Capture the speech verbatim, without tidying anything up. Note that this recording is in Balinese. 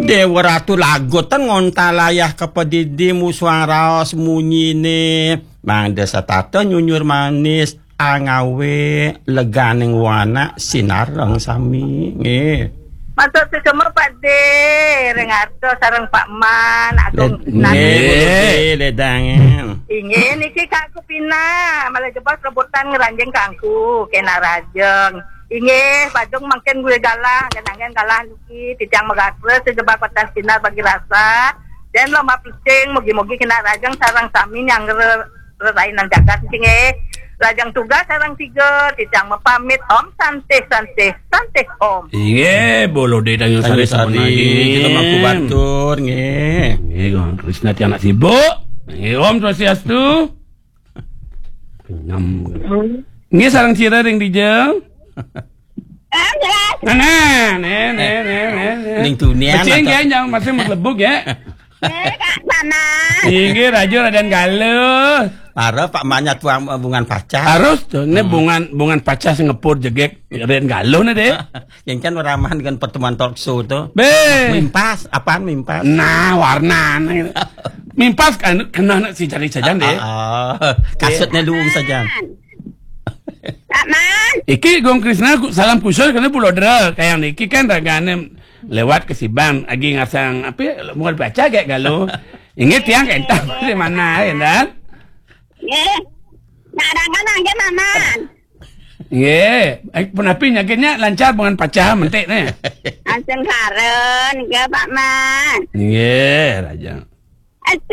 Déwa Ratu lagu ten ngontal ayah ka padidi musuang raos munyine. Mangda setata nyunyur manis, angawe leganing wanak sinareng sami. Nggih. Matur suksma Pak De, ring Arta sareng Pak Man, Agung Led-, Nani. Nggih, Pak De, ledangan. Inggih, niki Kak Kupina, malih jebos rebutan ngranjing kangku, kena rajeng. Inggih, Badung mangkin gue galah, ngenangen galah niki, titiang magatra, sejebak watan sinar bagi rasa, dan lomba picing, mugi-mugi kena rajeng sareng sami nyanggra rerainan jagat niki nggih. Lajeng tugas sareng tiga, titiang mapamit, Om Santih, Santih, Santih Om. Inggih, bolo de tanyo sari. Tanyo sari, sapunagi. Kita mangku batur, nggih. Nggih, Kong Krisna tiang nak sibuk. Nggih, Om Swastiastu. Kenyam. Nggih, sareng sira ring dija. Nah, nah, nah, nah, nah, nah. Ning tunian. Becing atau ya, jangan masih mlebu ya. Nggih, Kak Paman. Inggih, Raja Raden Galuh. Para Pak Manya tuang, eh, bungan pacah. Harus tuh, ini bungan, bungan pacah sing ngepur jegek Raden Galuh nih deh. Yang kan ramah dengan pertemuan talk show tuh. Be. Mimpas, apaan mimpas? Nah, warna nih. Mimpas kan kena nak si cari saja deh. Ah, ah. Kasutnya luung saja. Pak Man. Iki Gong Krisna ku-, salam kusul kena Pulau Dera. Kayak niki kan ragane lewat ke Sibang, agi ngasang apa ya, mau baca kayak galuh. Inggih tiang kentang di mana, ya, Dan? Nggih. Nak dangan nggih, Paman. Nggih. Eh, punapi nyakitnya lancar bungan pacah mentik nih. Langsung karen, nggih, Pak Man. Nggih, Raja. Aja